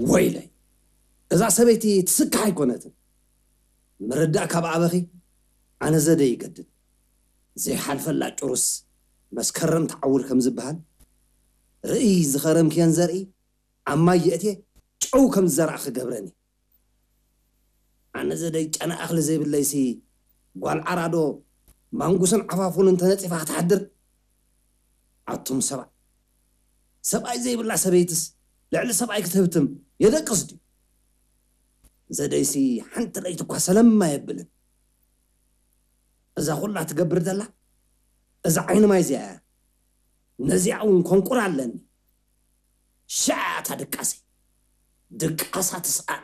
ወይለይ፣ እዛ ሰበይቲ ትስካሕ ኣይኮነትን። ምርዳእ ካብ ኣበኺ ኣነ ዘደ ይገድድ። ዘይሓልፈላ ጭሩስ መስከረም ትዓውር ከም ዝበሃል፣ ርእይ ዝኸረምክየን ዘርኢ ኣብ ማይ የእትየ ጨው ከም ዝዘራእኺ ገብረኒ። ኣነ ዘደይ ጨና እኽሊ ዘይብለይሲ ጓል ዓራዶ ማንጉስን ዓፋፉን እንተነፂፋ ክትሓድር? ኣቱም ሰብኣይ፣ ሰብኣይ ዘይብላ ሰበይትስ ልዕሊ ሰብኣይ ክትህብትም የደቅስ ድዩ? ዘደይሲ ሓንቲ ለይቲ እኳ ሰለማ የብልን። እዛ ኩላ ትገብር ዘላ እዛ ዓይኒ ማይ እዚኣ እያ። ነዚኣ እውን ኮንቁር ኣለኒ። ሻታ ድቃሰይ ድቃሳ ትስኣን።